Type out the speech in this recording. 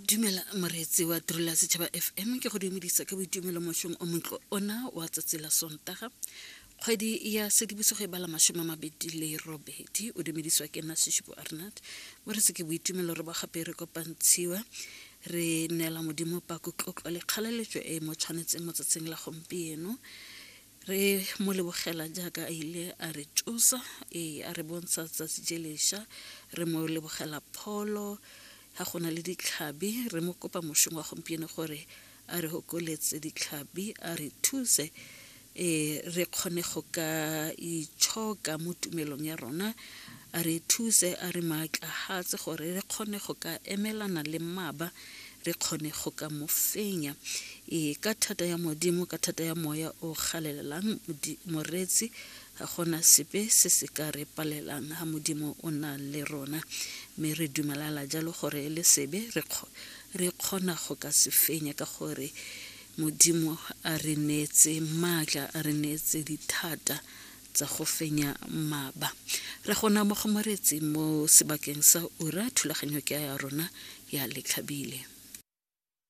Dumela moreetsi wa Tirelo ya Setšhaba FM ke go dumedisa ka boitumelo mošong o montlo ona wa tsatsi la Sontaga kgwedi ya Sedibosigo e bala 28. O dumedisiwa ke nna Seshupo Arnat. Moreetsi, ke boitumelo re ba gape re kopantshiwa re neela Modimo pako, tlotlo le kgalaletso e mo tshwanetseng mo tsatsing la gompieno. Re mo lebogela jaaka a ile a re tsosa, ee, a re bontsha tsatsi je lesha. Re mo lebogela pholo ga go na le ditlhabi. Re mo kopa mošong wa gompieno gore a re hokoletse ditlhabi, a re thuse, ee, re kgone go ka itshoka mo tumelong ya rona. A re thuse, a re maatlahatse gore re kgone go ka emelana le mmaba, re kgone go ka mo fenya. Ee, ka thata ya Modimo, ka thata ya Moya o galelelang, moreetsi, ga gona sepe se se ka re palelang ha Modimo o na le rona. Mme re dumelala jalo gore le sebe re re kgona go ka se fenya ka gore Modimo a re neetse maatla, a re neetse dithata tsa go fenya mmaba. Re gona mo go moreetsi mo sebakeng sa ura, thulaganyo ke ya rona ya Letlhabile.